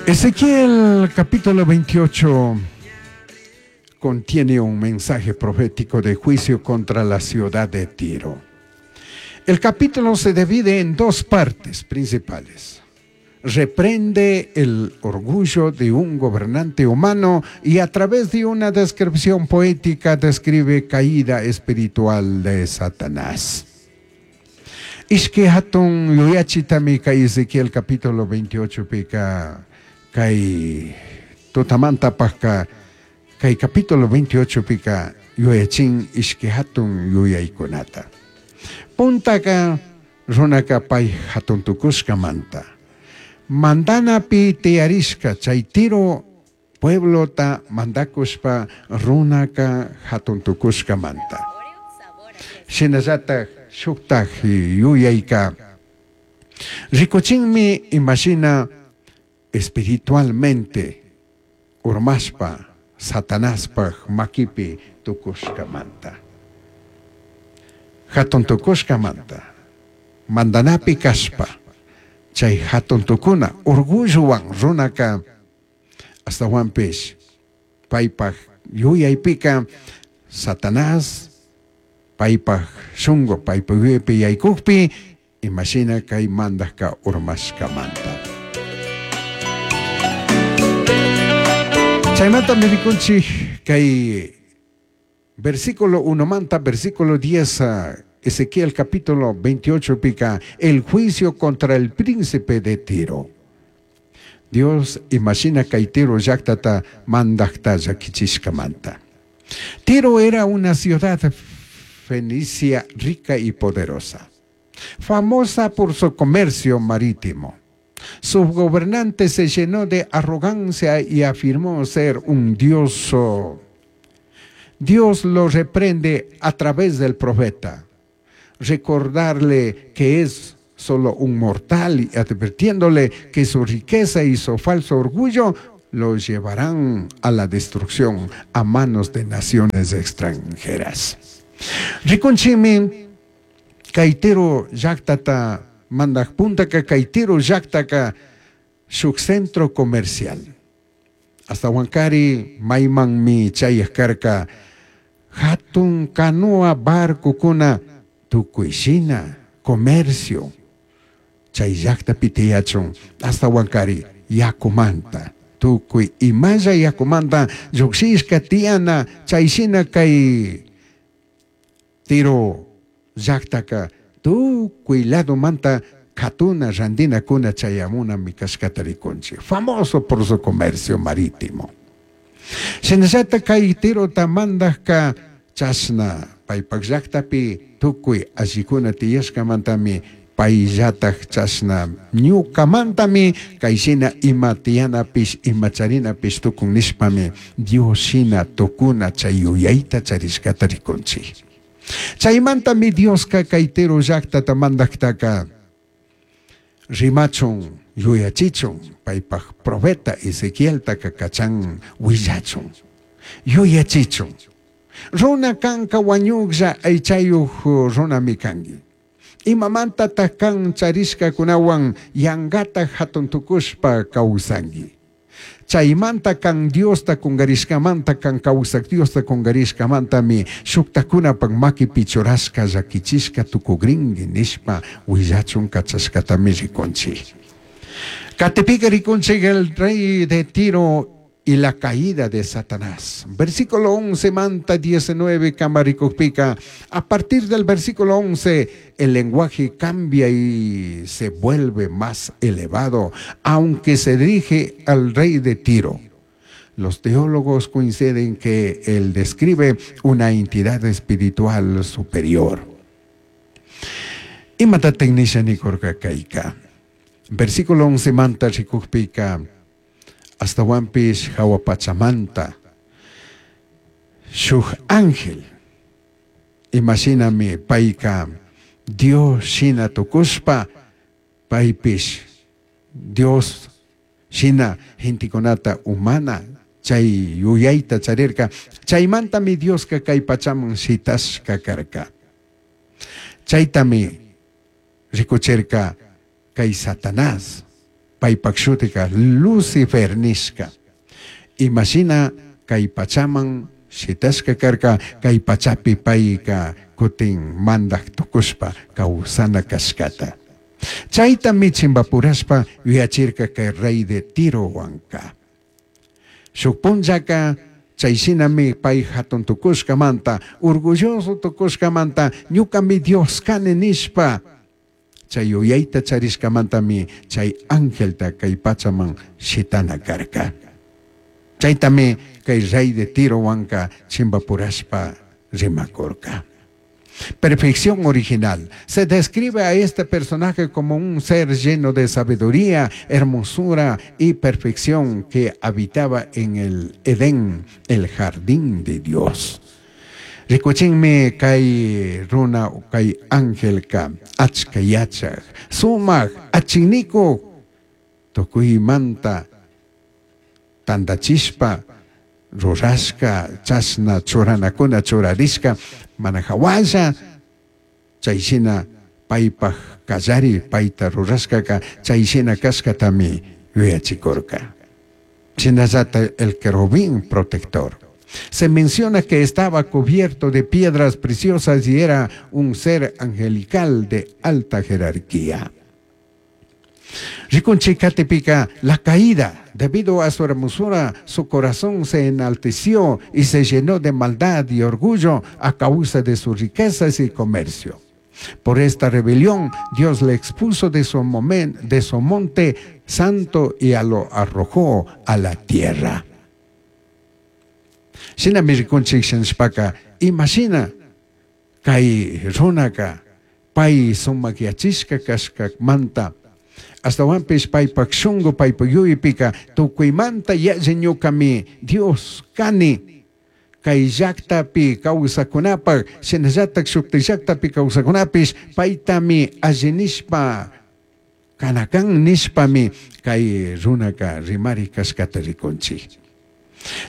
Ezequiel capítulo 28 contiene un mensaje profético de juicio contra la ciudad de Tiro. El capítulo se divide en dos partes principales. Reprende el orgullo de un gobernante humano y a través de una descripción poética describe caída espiritual de Satanás. Ishki hatun yuyachitami kay Ezequiel capítulo 28 pika kay tutamantapajka kay capítulo 28 pika yuyachin ishki hatun yuyaykunata. Puntaka runaka pay hatun tukushkamanta. Mandanapi tiyarishka chay Tiro pueblota mandakushpa runaka hatun tukushkamanta. Shinallataj shuktaj yuyayka rikuchinmi imashina espiritualmente urmashpa Satanaspaj makipi tukushkamanta. Hatun tukushkamanta mandanapi kashpa chay hatun tukuna orgullowan runaka astawanpish paypaj yuyaypika Satanás paypaj shunku paypaj yuyaypi yaykukpi imashina kay mandajka urmashkamanta. Chaymanta rikunchik kay versículo 1 manta versículo 10 Ezequiel capítulo 28 pica el juicio contra el príncipe de Tiro. Dios imagina kay Tiro llaqtata mandajta llakichishkamanta. Tiro era una ciudad fenicia rica y poderosa, famosa por su comercio marítimo. Su gobernante se llenó de arrogancia y afirmó ser un dios. Dios lo reprende a través del profeta, recordarle que es solo un mortal y advirtiéndole que su riqueza y su falso orgullo lo llevarán a la destrucción a manos de naciones extranjeras. Rikunchimi kay Tiro llaqtata mandaj puntaka kay Tiro llaqtaka shuk centro comercial. Hasta Huancari maymanmi chayaj karka hatun canoa barcokuna tukuy shina comercio chay llaqtapi tiyachun hasta Huancari yakumanta tukuy imalla yakumanta lluqshishka tiyana chay shina kay Tiro llaqtaka tukuy ladomanta katuna randinakuna chayamunami kashkata rikunchik, famoso por su comercio marítimo. Shinallata kay Tirota mandajka chashna paypak llaqtapi tukuy allikuna tiyashkamantami payllataj chashna ñukamantami kay shina ima tiyanapish ima charinapish tukun nishpami Dios shina tukuna chay yuyayta charishkata rikunchik. Chaymantami Dioska kay Tiro llaqtata mandajtaka rimachun yuyachichun paypaj profeta Ezequieltaka kachan willachun yuyachichun. Runa kanka wañuqlla aychayuq runami kanki. Imamantataq kan charishkakunawan yankata hatun tukushpa kawsanki. Chaymanta kan Diosta kungarishkamanta kan kawsaq Diosta kungarishkamantami shuktakunapak makipi churashka llakichishka tukugrinki nishpa willachun kachashkatami rikunchik. Katipika rikunchik el rey de Tiro y la caída de Satanás. Versículo 11 manta 19 kamarikukpika. A partir del versículo 11 el lenguaje cambia y se vuelve más elevado, aunque se dirige al rey de Tiro. Los teólogos coinciden que él describe una entidad espiritual superior. Imata tecnisha nikurka kayka. Versículo 11 manta rikukpika. Astawanpish hawa pachamanta shuk ángel imashinami payka Dios shina tukushpa paypish Dios shina gentekunata humana chay yuyayta charirka chaymantami Dioska kay pachaman shitashka karka. Chaytami rikuchirka kay Satanás. Paipaj shutica Lucifer nishca. Imashina kay pachaman shitashca karka, kay pachapi paica kutin mandaj tukushpa kawsana kashkata. Chaytami chimbapurashpa yuyachirka kay rey de Tirowanka. Shuk punllaka chayshinami pay hatun tukushkamanta, orgulloso tukushkamanta, ñukami Dios kani nishpa, chay yuyayta charishkamantami chay angelta kay pachaman shitana karka. Chaytami kay rey de Tirowanka chimbapurashpa rimakurka. Perfección original. Se describe a este personaje como un ser lleno de sabiduría, hermosura y perfección que habitaba en el Edén, el jardín de Dios. Rikuchinmi kay runa kay angelka achka yachaj, sumak achinnikuk tukuymanta tandachishpa rurashka chashna churanakuna churarishka mana hawalla chayshina paypaj kallari payta rurashkaka chayshina kashkatami yuyachikurka. Shinallata el querubín protector. Se menciona que estaba cubierto de piedras preciosas y era un ser angelical de alta jerarquía. Rikunchik katipika, la caída, debido a su hermosura, su corazón se enalteció y se llenó de maldad y orgullo a causa de sus riquezas y comercio. Por esta rebelión, Dios le expuso de su monte santo y lo arrojó a la tierra. Shinami rikunchik shinashpaka, imashina kay runaka pay sumakyachishka kashkamanta, astawanpish paypak shunku paypak yuypika tukuymanta yalli ñukami Dios kani, kay llaktapi kawsakunapak shinallatak shukti llaktapi kawsakunapish paytami alli nishpa kanakan nishpami kay runaka rimari kashkata rikunchik.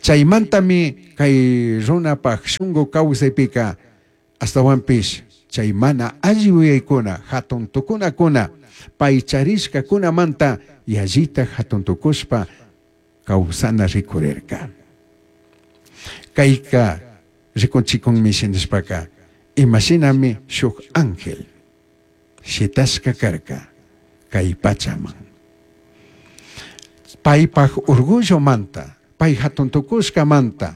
Chaymantami kay runapak shunku kawsaypika astawanpish chay mana alli yuyaykuna hatun tukunakuna pay charishkakunamanta yallita hatun tukushpa kawsana rikurirka. Kayka rikunchikunmi shinashpaka imashinami shuk ángel shitashka karka kay pachaman. Paypaj orgullomanta, pay hatun tukushkamanta,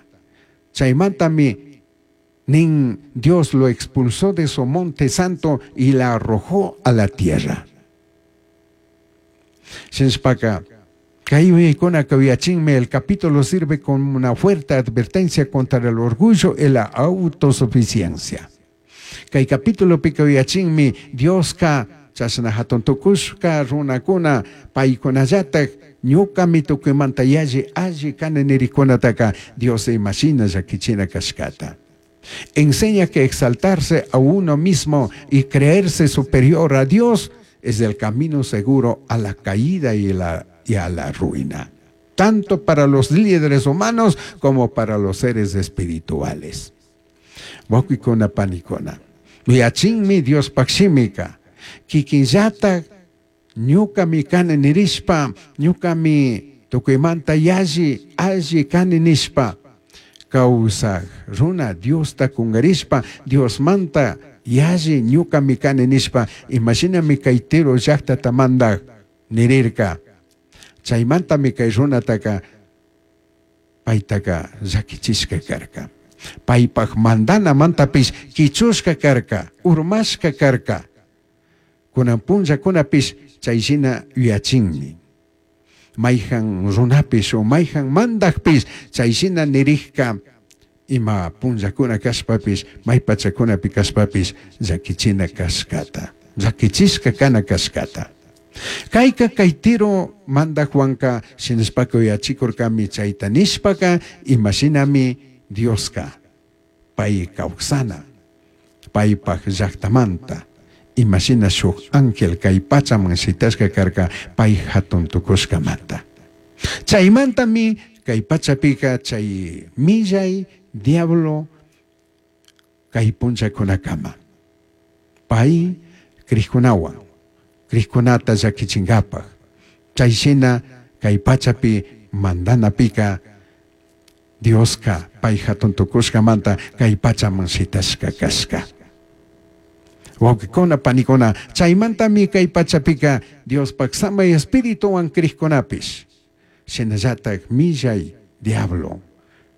chaymantami nin Dios lo expulsó de su monte santo y la arrojó a la tierra. Shinashpaka, kay yuyaykuna kawiyachinmi, el capítulo sirve como una fuerte advertencia contra el orgullo y la autosuficiencia. Kay capítulo pikawiyachinmi, Dioska chashna hatun tukushka runakuna paykunallatak ñukami tukuymanta yalli alli kani nirikunataka Dios imashina llakichina kashkata. Enseña que exaltarse a uno mismo y creerse superior a Dios es el camino seguro a la caída y a la ruina, tanto para los líderes humanos como para los seres espirituales. Wawqikuna panikuna, yachinmi Diospaj shimika, kikinllatak ñukami kani nirishpa, ñukami tukuymanta yalli alli kani nishpa, kawsaj runa Diosta kungarishpa, Diosmanta yalli ñukami kani nishpa, imashinami kay Tiro llaktata mandaj nirirka. Chaymantami kay runataka paytaka llakichishka karka. Paypaj mandanamantapish kichushka karka, urmashka karka. Kunan punllakunapish chayshina yuyachinmi. Mayjan runapish o mayjan mandajpish chayshina nirijka ima punllakuna kashpapish, may pachakunapi kashpapish llakichina kashkata, llakichishka kana kashkata. Kayka kay Tiro mandajwanka shinashpaka yuyachikurkami chayta nishpaka imashinami Dioska pay kawsana paypaj llaktamanta imashina shuk ángel kay pachaman shitashka karka pay hatun tukushkamanta. Chaymantami kay pachapika chay millay diablo kay punllakunakama pay krikunawan, krikkunata llakichinkapaj, Chay shina kay pachapi mandanapika Dioska pay hatun tukushkamanta kay pachaman shitashka kashka. Wawqikuna, panikuna, chaymantami kay pachapika Diospaj samay espirituwan crijkunapish, shinallatak millay diablo,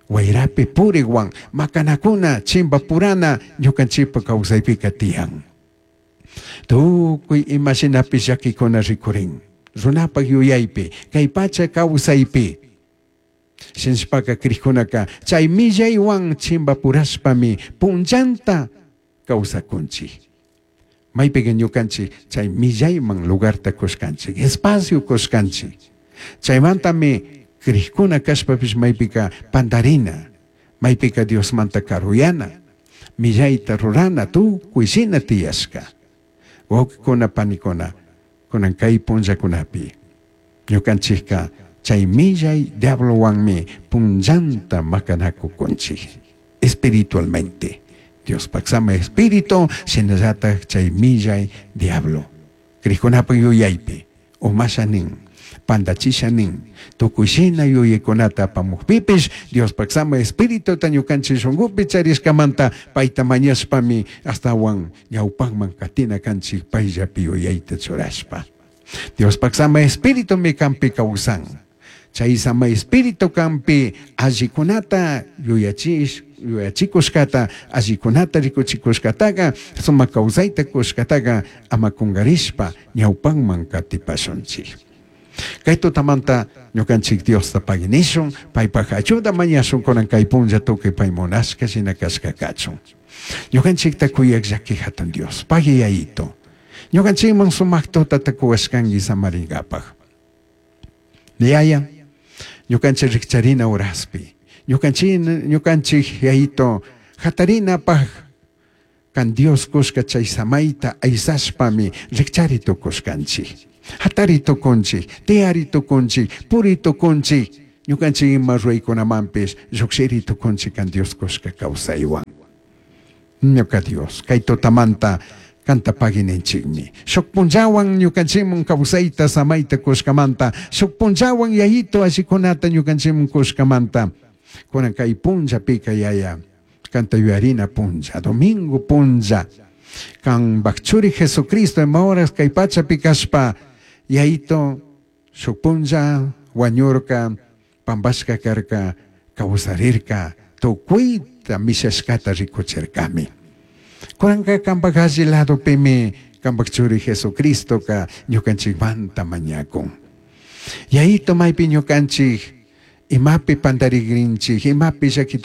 wayrapi purikwan makanakuna chimbapurana ñukanchikpa kawsaypika tiyan. Tukuy ima shinapish llakikuna rikurin, runapak yuyaypi, kay pacha kawsaypi. Shinashpaka crijkunaka chay millaywan chimbapurashpami punllanta kawsakunchik. Maypika ñukanchik chay millayman lugarta kushkanchik, espacio kushkanchik. Chaymantami crijkuna kashpapish maypika pandarina, maypika Diosmanta karuyana, millayta rurana tukuy shina tiyashka. Wawqikuna, panikuna, kunan kay punllakunapi ñukanchikka chay millay diablowanmi punllanta makanakukunchik espiritualmente. Diospaj samay espíritu shinallatak chay millay diablo. Crijkunapak yuyaypi umasha nin, pandachisha nin, tukuy shina yuyaykunata apamukpipish Diospaj samay espirituta ñukanchik shunkupi charishkamanta payta mañashpami ashtawan ñawpakman katina kanchik payllapi yuyayta churashpa. Diospaj samay espiritumi kanpi kawsan. Chay samay espíritu kanpi allikunata yuyachish yuyachikushkata, allikunata rikuchikushkataqa, sumak kawsayta kushkataqa ama kungarishpa ñawpanman katipashunchik. Kay tutamanta ñukanchik Diosta paginishun, paypaj ayuda mañashun kunan kay punlla tukuy pay munashka shina kashka kachun. Ñukanchikta kuyak llaki hatun Dios, pagui yayito. Ñukanchikman sumak tutata kuwashkanki samaringapaj. Yaya, ñukanchik rikcharina horaspi, ñukanchik ñukanchik yayito hatarinapaj kan Dios kushka chay samayta aysashpami rikchari tukushkanchik. Hatari tukunchik, tiyari tukunchik, puri tukunchik, ñukanchik ima ruraykunamanpish llukshiri tukunchik kan Dios kushka kawsaywan. Ñuka Dios, kay tutamanta kanta pagininchikmi. Shuk punllawan ñukanchikman kawsayta samayta kushkamanta, shuk punllawan yayito allikunata ñukanchikman kushkamanta. Kunan kay punllapika yaya, kanta yuyarina punlla, domingo punlla, kanpak churi Jesucristo ima horas kay pachapi kashpa, yayito shuk punlla wañurka, pampashka karka, kawsarirka, tukuyta mishashkata rikuchirkami. Kunanka kanpak alli ladopimi kanpak churi Jesucristoka ñukanchikmanta mañakun. Yayito maypi ñukanchik imapi pantarigrinchik, imapi llaki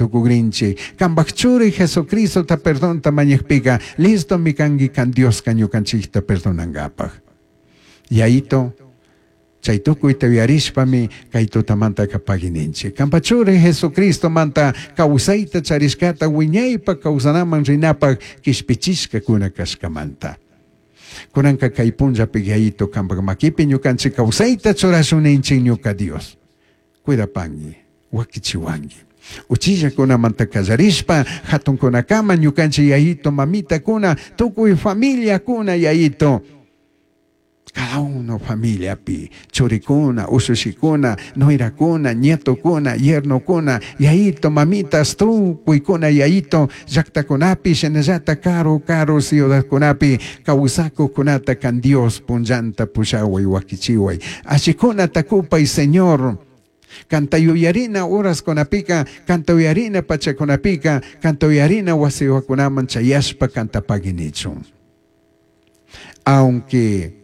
kanpak churi Jesucristota perdonta mañakpika, listomi kanki kan Dioska ñukanchikta perdonankapaj. Yayito, chay tukuyta yuyarishpami kay tutamantaka pagininchik. Kanpa churi Jesucristomanta kawsayta charishkata wiñaypa kawsanaman rinapaj kishpichishkakuna kashkamanta. Kunanka kay punllapi yayito kanpak makipi ñukanchik kawsayta churashun ninchik ñuka Dios. Cuidapanki, wakichiwanki. Uchillakunamanta kallarishpa hatunkunakama ñukanchik yayito mamitakuna tukuy familiakuna yayito. Cada uno familiapi, churikuna, usushikuna, nuerakuna, nietokuna, yernokuna, yayito, mamitas, tukuykuna, yayito, llaqtakunapi, shinallata karu karu ciudadkunapi, kawsakuqkunata kan Dios punllanta pushaway wakichiway. Allikunata kupay Señor. Kanta yuyarina horaskunapika, kanta yuyarina pachakunapika, kanta yuyarina wasiwakunaman chayashpa kanta paginichun. Aunque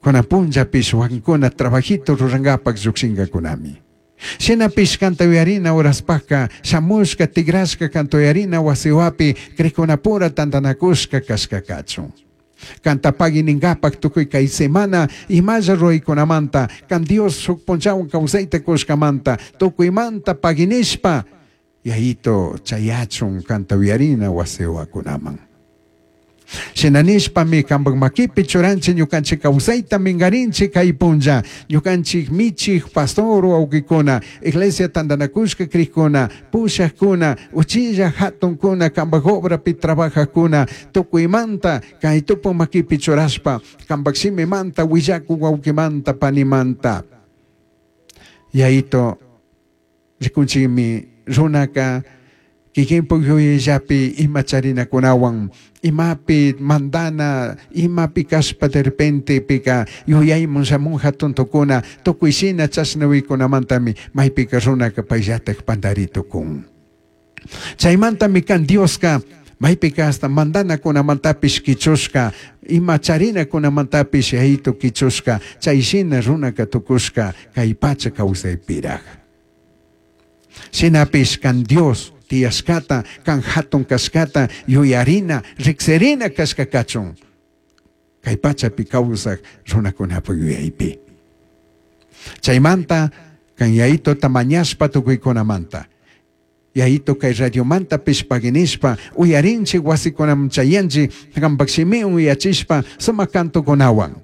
kunan punllapish wakinkuna trabajito rurankapak llukshinkakunami. Shinapish kanta yuyarina horaspajka shamushka tigrashka kanta yuyarina wasiwapi crikkunapura tantanakushka kashka kachun. Kanta pagininkapak tukuy kay semana imalla ruraykunamanta kan Dios shuk punllawan kawsayta kushkamanta tukuymanta paginishpa yayito chayachun kanta yuyarina wasiwakunaman. Shina nishpami cambaj maquipi churanchik ñukanchik kawsayta minkarinchik kay punlla ñukanchik michik pastor wawkikuna iglesia tantanakushka krikuna pushakuna uchilla hatunkuna cambaj obrapi trabajakuna tukuymanta kay tupu maquipi churashpa cambaj shimimanta willakuk wawkimanta panimanta. Yayito rikunchikmi runaka kikinpuk yuyayllapi ima charinakunawan imapi mandana imapi kashpa de repente pika yuyaymun shamun hatun tukuna tukuy shina chashna uykunamantami maypika runaka payllatak pantari tukun. Chaymantami kan Dioska maypika hasta mandanakunamantapish kichushka ima charinakunamantapish yayito kichushka chay shina runaka tukushka kay pacha kawsaypiraj. Shinapish kan Dios tiyashkata kan hatun kashkata yuyarina riksirina kashka kachun kay pachapi kawsaj runakunapa yuyaypi. Chaymanta kan yayitota mañashpa tukuykunamanta. Yayito kay radiomantapish paginishpa uyarinchik wasikunaman chayanchik kampak shimiwan uyachishpa sumak cantokunawan.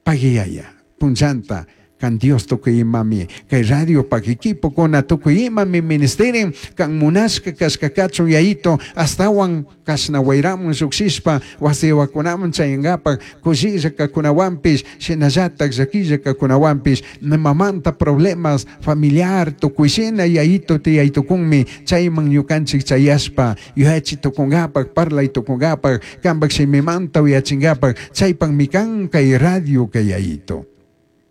Pagiyaya punllanta kan Dios tukuy imami kay radio pak equipokuna tukuy imami ministerin kan munashka kashka kachun yayito astawan kashna wayramun llukshishpa wasiwakunaman chayankapak kushilla kakunawanpish shinallatak llakilla kakunawanpish nimamanta problemas familiar tukuy shina yayito tiyaytukunmi chayman ñukanchik chayashpa yuyachi tukunkapak parlay tukunkapak kampak shimimanta uyachinkapak chaypakmi kan kay radio kay yayito.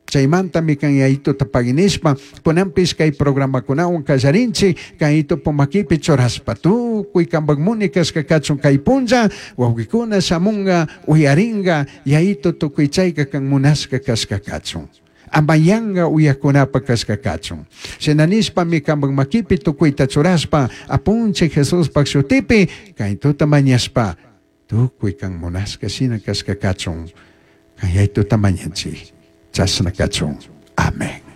Chaymantami kan yayituta paginishpa kunanpish kay programakunawan kallarinchik kay makipi churashpa tukuy kampak muni kashka kachun kay punlla wawqikuna shamunga uyaringa yayito tukuy chayka kan munashka kashka kachun. Amayanga uyakunapa kashka kachun. Shina nishpami kampak makipi tukuyta churashpa apunchik Jesuspak shutipi kay tuta mañashpa tukuy kan munashka shina kashka kachun. Kay yayituta mañanchik. Chashna kachun. Amén.